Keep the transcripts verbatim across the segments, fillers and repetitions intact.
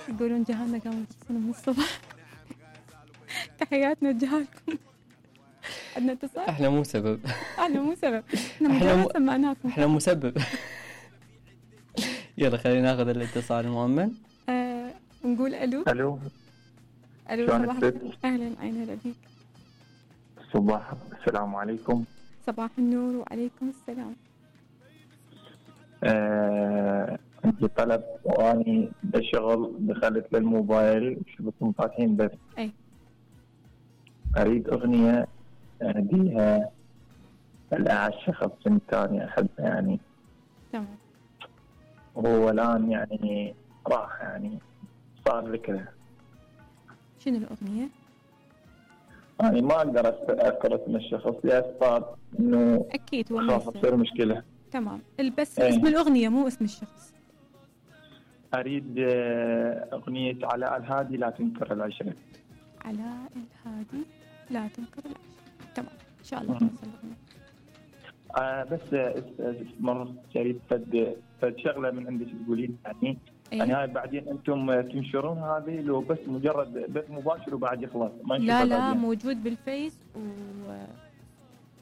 يقولون جهالنا قاموا يرقصون من الصبح. تحياتنا لجهالكم. عندنا اتصال. احنا مو سبب. احنا مو سبب. احنا مجرد سمعناكم. احنا مو مسبب. يلا خلينا ناخذ الاتصال المؤمن. آه نقول الو. الو. الو صباح الخير. اهلا عين هلا بيك. صباح السلام عليكم. صباح النور وعليكم السلام. آه، عندي طلب واني بشغل دخلت للموبايل شفتهم فاتحين بس. اي. اريد اغنية اهديها لاعز شخص ثاني احبه يعني. تمام. وهو الان يعني راح يعني صار ذكره. شنو الاغنية؟ يعني ما اقدر اذكر اسم الشخص لاسباب انه اكيد هو خاف تصير مشكلة. تمام. بس ايه. اسم الاغنية مو اسم الشخص. اريد اغنية علاء الهادي لا تنكر العشرة. علاء الهادي لا تنكر العشرة. تمام ان شاء الله توصل الاغنية. آه بس مرة شريت فد فد شغلة من عندك تقولين يعني. أيه؟ يعني هاي بعدين انتم تنشرون هذه لو بس مجرد بث مباشر وبعد يخلص ما لا لا بعدين. موجود بالفيس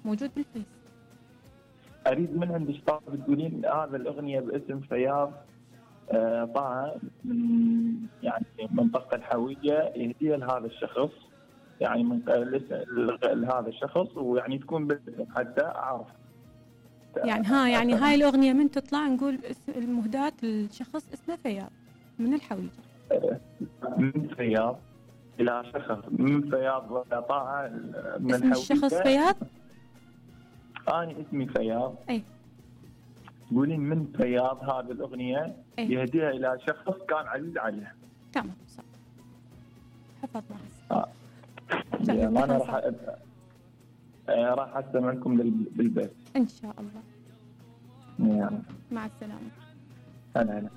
وموجود بالفيس. اريد من عندك طاب تقولين هذا الاغنية باسم فياض آه طه من يعني منطقة الحوية يهديها لهذا الشخص يعني من لهذا الشخص ويعني تكون باسم حتى اعرف. يعني ها يعني هاي الأغنية من تطلع نقول المهداة الشخص اسمه فياض من الحويجة. من فياض إلى شخص من فياض وطاعة من اسم الشخص فياض؟ أنا اسمي فياض. أي. تقولين من فياض هذه الأغنية أي. يهديها إلى شخص كان عزيز عليه. تمام صح. حفظنا. آه. يعني أنا راح أبقى. راح أستمعكم بالبيت إن شاء الله. يعني. مع السلامة. هلا هلا.